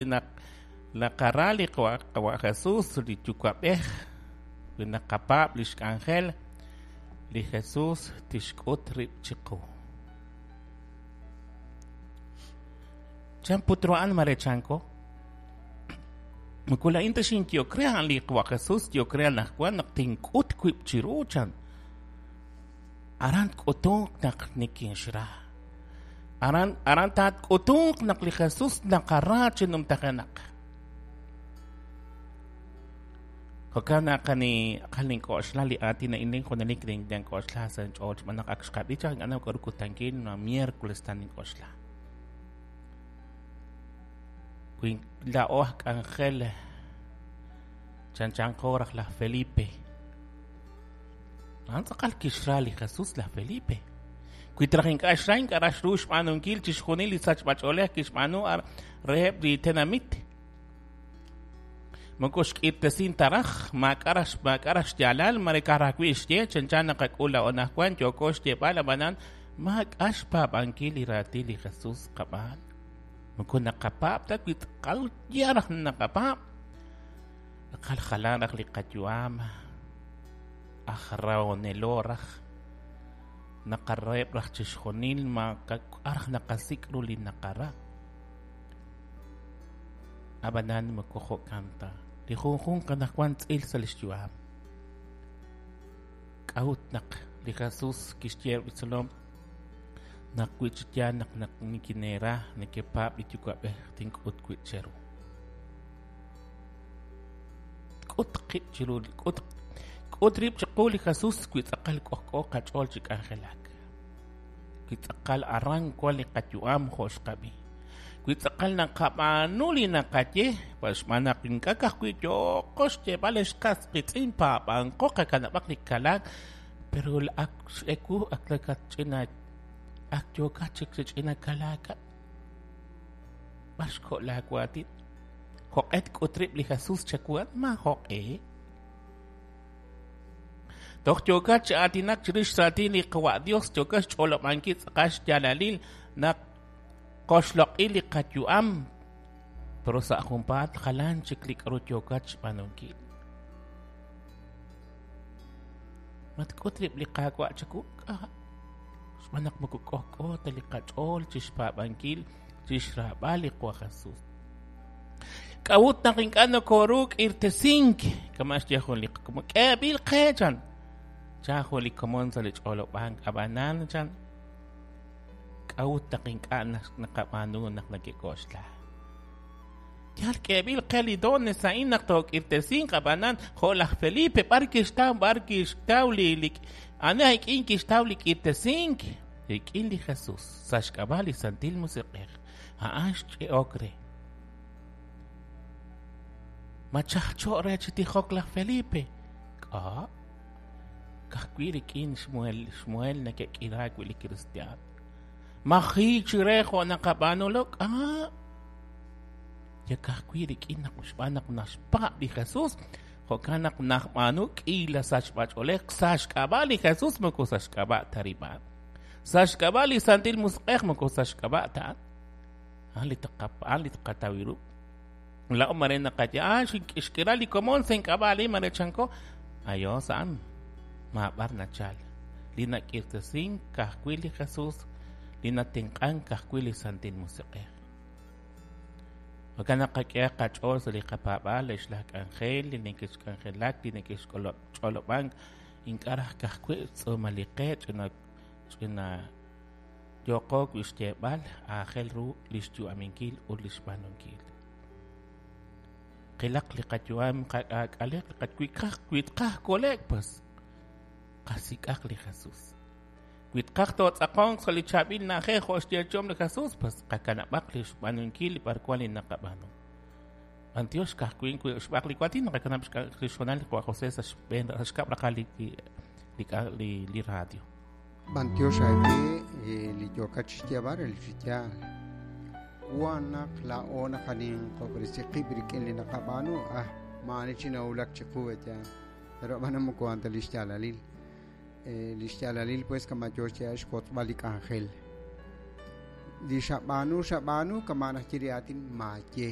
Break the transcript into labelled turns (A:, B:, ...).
A: Naq naqara li Qawa' Jesus, li Yuwa'b'ej, wi naqapaab' lix k'anjel, li Jesus tixk'ut rib' chiqu. Chan put ru a'an mare chanko? Moko laa'in ta xinyehok re, a'an li Qawa' Jesus yehok re anaqwan naq tink'ut wib' chiru, chan. Aran tk'utunq naq nikinxra. Aran, aran taatk'utunq naq li Jesus naqara chi numtajenaq. Jo'kan naq ani aqal nink'oxla li aatin a'in lin junelik nink'oxla sa' inch'ool xb'aan naq ak xqab'i chaq ink'a' naw k'a'ru kutankil ma miércoles ta nink'oxla. Wi laa'o aj k'anjel chanchanqo raj laj Felipe. A'an tz'aqal kixra li Jesus laj Felipe. Wi traj ink'a' xra, ink'a' raj xru xb'aanunkil chixjunil li sachb'ach'oolej kixb'aanu reheb' li tenamit. Moko xk'irtesin ta raj, maak'a' raj maak'a' raj xyaalal, mare ka'aj raj wi' xye, chanchan naqak'ul laa'o anaqwan yooko xyeeb'al, ab'anan maak'a' xpaab'ankil li raatin li Jesus qab'aan. Moko naqapaab' ta wi tz'aqal yaal raj naqapaab'. Tz'aqal jalan raj li qayu'am, aj rahonelo raj, naqaraheb' raj chixjunil, maak'a' raj naqasik' ru li naqara. Ab'anan moko jo'kan ta. Li junjunq anaqwan tz'il sa' lix yu'am. K'a'ut naq li Jesus kixye li tzolom naq wi chi yaal naq naq nikineera nekepaab' li Yuwa'b'ej tink'ut wi' cheru. K'ut qib' chiru k'ut k'ut rib' chiqu li Jesus wi tz'aqal k'ojk'o qach'ool chi k'anjelak. Wi tz'aqal aran wan li qayu'am jo' xqab'i. Wi tz'aqal naqab'aanu li naqaye, xb'aan naq ink'a' ka'ajwi' yooqo xyeeb'al ex qas qiitz'in paab'anqo qakanab'aq li kalaak, pero ak x'ewu ak nakatch'ina ak yookat chik chi ch'ina kalaakat. B'ar xko' laawaatin? Jo'q'e tk'ut rib' li Jesus chawu at maajo'q'e? Toj yookat chi aatinak chirix raatin li Qawa' Dios, yookat xch'olob'ankil tz'aqal xyaalalil naq qoxloq'i li qayu'am, pero sa' junpaat jalan chik li k'aru yookat xb'aanunkil. Ma tk'ut rib' li Qaawa' chawu? K'a' xb'aan naq moko k'ojk'o ta li qach'ool chi xpaab'ankil chi xraab'al li Qawa' Jesus. K'a'ut naq ink'a' nokooru k'irtesink? Kama' xye jun li qakomon. K'eeb'il qe, chan. Chan jun li komon sa' li ch'olob'ank. Ab'anan, chan, k'a'ut naq ink'a' naqab'aanu naq nekek'oxla? Yal k'eeb'il qe li dones a'in naq took'irtesinq, ab'anan, jo' laj Felipe, b'ar kixtaw, b'ar kixtaw li, li ani ik'in kixtaw li k'irtesink? Rik'in li Jesus, sa' xk'ab'a' li Santil Musiq'ej. A'an xch'e'ok re. Ma chajcho' re chi tijok laj Felipe? K'a'? Ka'ajwi' rik'in xmuhel, xmuhel neke'k'iraak wi' li kristiaan. Ma jiik chi re jo' naqab'aanu lo? K'a'? Ya ka'ajwi' rik'in naq xb'aan naq naxpaab' li Jesus, jo'kan naq najb'aanu k'iila sachb'ach'oolej sa' xk'ab'a' li Jesus moko sa' xk'ab'a' ta rib' a'an. Sa' xk'ab'a' li Santil Musiq'ej moko sa' xk'ab'a' ta a'an. A'an li a'an li tqataw ru. Laa'o mare naqaye, ah, xk'ira li komon sa' ink'ab'a' li mare chanko. Ayos a'an, maab'ar nachal. Li nak'irtesink ka'ajwi' li Jesus, li natenq'ank ka'ajwi' li Santil Musiq'ej. Jo'kan naq qak'ehaq qach'ool sa' li qapaab'aal ex laj k'anjel li neke'xk'anjelak, li neke'xch'olob'ank, ink'a' raj ka'ajwi' xtz'uumal li qe ch'ina ch'ina yooqo wi' xyeeb'al aajel ru li xyu'aminkil ut li xb'aanunkil. Qilaq li qayu'am qak'aak'aleq li qaj wi tqaj kole'k pues qasik'aq li Jesus. Wi tqaj tootz'aqonq sa' li chaab'il na'ajej jo' xyeechom li Jesus, pues qakanab'aq li xb'aanunkil li b'arwan li naqab'aanu. B'antiox ka'ajwi' wi xb'aq li waatin naqakanab' li xhoonal li Qawa' José sa' xb'een xkab' raqal li li li li radio.
B: B'antiox aawe li yookat chi xyeeb'al re li chi yaal. Wan naq laa'o naqaninqob'resi qib' rik'in li naqab'aanu, ah, maa'ani chi nawulak chiqu yaal. Pero ab'anan moko a'an ta li xyaalalil. Li xyaalalil pues kama' yoo xyeeb'al xwotzb'al li k'anjel. Li xab'aanu xab'aanu kama' naxye li aatin maaye.